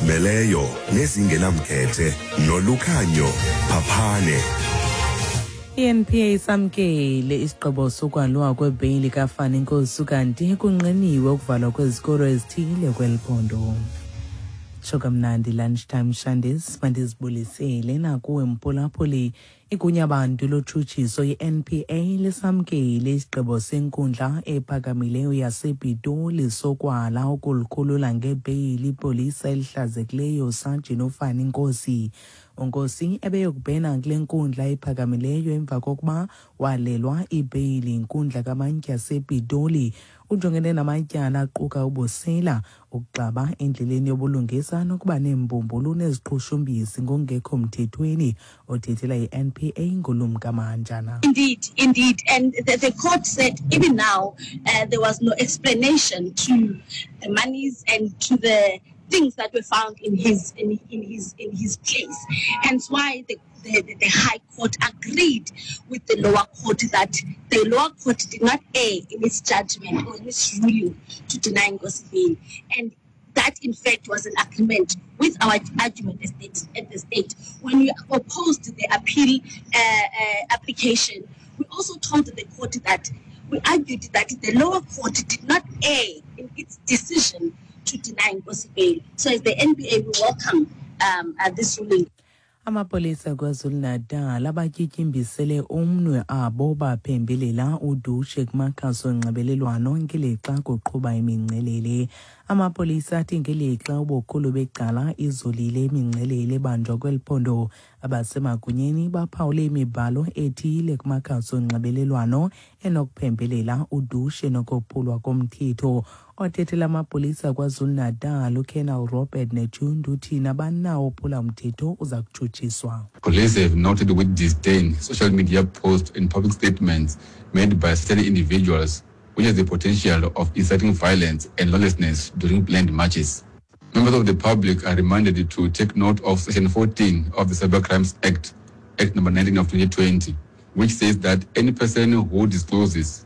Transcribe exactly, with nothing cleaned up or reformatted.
Ezizimeleyo nezingenamkhethe noLukhanyo Phaphane. I-N P A isamkele isigqibo sokwalwa kwebheyili kaFani Nkosi, kanti kunqiniwe ukuvalwa kwezikolo ezithile kweli phondo. Tsho kamnandi, lunchtime shandis, mandizibulisele nakuwe mphulaphuli. Igunya bantu lotshutshiso i-N P A lisamkele isigqibo senkundla ephakamileyo yasePitoli sokwala ukulikhulula ngebheyili ipolisa elihlazekileyo Sajini uFani Nkosi. UNkosi ebeyokubhena kule nkundla iphakamileyo emva kokuba walelwa ibheyili inkundla kamantyi yasePitoli. Ujongene namatyala aquka ubusela, ukuxaba endleleni yobulungisa nokuba neembumbulu neziqhushumbisi ngokungekho mthethweni. Othethela i-N P A nguLumka Mahanjana. Indeed, indeed. And the, the court said even now uh, there was no explanation to the monies and to the things that were found in his in, in his in his place. Hence why the, the, the High Court agreed with the lower court that the lower court did not err in its judgment or in its ruling to deny Nkosi bail. And that in fact was an agreement with our argument at, state, at the state. When we opposed the appeal uh, uh, application, we also told the court that we argued that the lower court did not err in its decision to deny Nkosi bail. So as the N P A, we welcome um, uh, this ruling. Amapolisa KwaZulu-Natal abatyityimbisele umnwe abo baphembelela udushe kumakhasi onxibelelwano ngelixa kuqhuba imingcelele. Amapolisa athi ngelixa ubukhulu becala izolile imingcelele ebanjwa kweli phondo, abasemagunyeni baphawule imibhalo ethile kumakhasi onxibelelwano enokuphembelela udushe nokophulwa komthetho. Othethela amapolisa KwaZulu-Natal uColonel Robert Netshiunda uthi nabani na ophula umthetho uza kutshutshiswa. Police have noted with disdain social media posts and public statements made by certain individuals which has the potential of inciting violence and lawlessness during planned marches. Members of the public are reminded to take note of Section fourteen of the Cybercrimes Act, Act number nineteen of twenty twenty, which says that any person who discloses